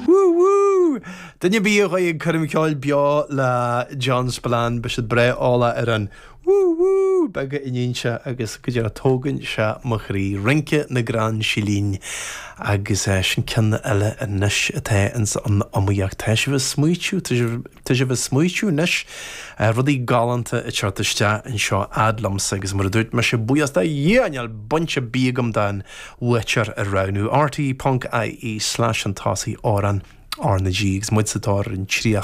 Wú wú! Duine ar bith a ghabh ag coirm cheoil beo le John Spillane, beidh siad breá eolach ar an wú wú beag a níonn sé agus go díreach tógann sé mo chroí. Rince na gCrann Silín agus sin ceann eile anois atá ins an iomaíocht. Tá sibh ag smaoitiú, tá sibh. Tá sibh ag smaoitiú anois, rudaí galánta ag teacht isteach anseo fhad liomsa agus mar a dúirt mise, buíochas do Dhia níl baint ar bith agam den bhuaiteoir a roghnú. RTÉ ponc ie slash chun tosaigh amhrán R na G agus muid sa tóir ar an 30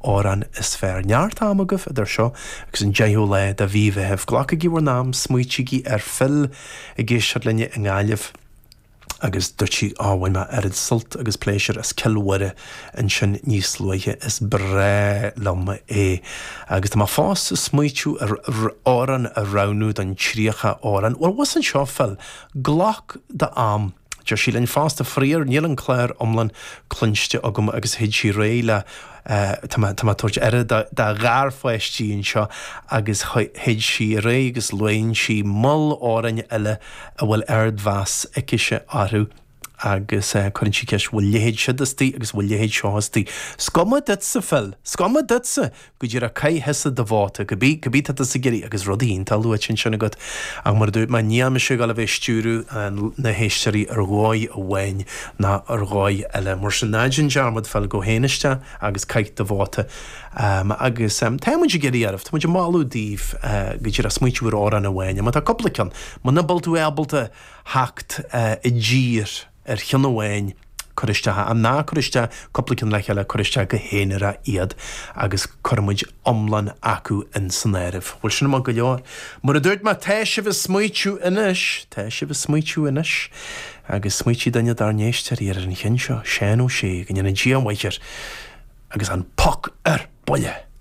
amhrán is fearr. Neart ama agaibh idir seo agus an 10ú lá de mhí Mheithimh. Glacaigí bhur n-am, smaoitígí ar Phil ag éisteacht linne i nGaillimh. agus dúirt sí, Á, bhain mé oiread sult agus pléisiúr as Cill Mhuire ansin níos luaithe, is breá liom é. Agus tá mé fós ag smaoitiú ar amhrán a roghnú don 30 amhrán. Bhuel, bhus anseo, Phil, glac d'am. Deir sí linn fosta, faraor, níl an clár iomlán cluinste agam agus théid sí ar aghaidh le Tá mé ag tabhairt aire do gharpháistí anseo agus théid sí ar aghaidh agus luann sí moll amhráin eile a bhfuil ardmheas aicise orthu agus cuireann sí ceist bhfuil leithéid siúd istigh agus bhfuil leithéid seo istigh. 'S cuma duitse, Phil, 's cuma duitse! Go díreach caith thusa do vóta, cibé, cibé tá tusa ag iarraidh agus rudaí iontach luaite ansin agat. Ach mar a dúirt mé, níl mise ag dul a bheith ag stiúradh na héisteoirí ar dhóigh amháin ná ar dhóigh eile. Mar sin, ná déan dearmad, Phil, gabh féin isteach agus caith do vóta. Agus tá muid ag iarraidh oraibh, tá muid ag moladh daoibh go díreach smaointiú ar amhrán amháin. Má tá cúpla ceann, muna bhfuil tú ábalta theacht i dtír ar cheann amháin, cuir isteach é. Ná cuir isteach cúpla ceann le chéile, cuir isteach go haonarach iad agus cuirfidh muid iomlán acu in san áireamh. Bhfuil sin maith go leor? Mar a dúirt mé, tá sibh ag smaoitiú anois, tá sibh ag smaoitiú anois agus smaoitigh duine dár n-éisteoirí ar an cheann seo, Seán Ó Sé, go ndéana Dia a mhaith air agus an poc ar buile!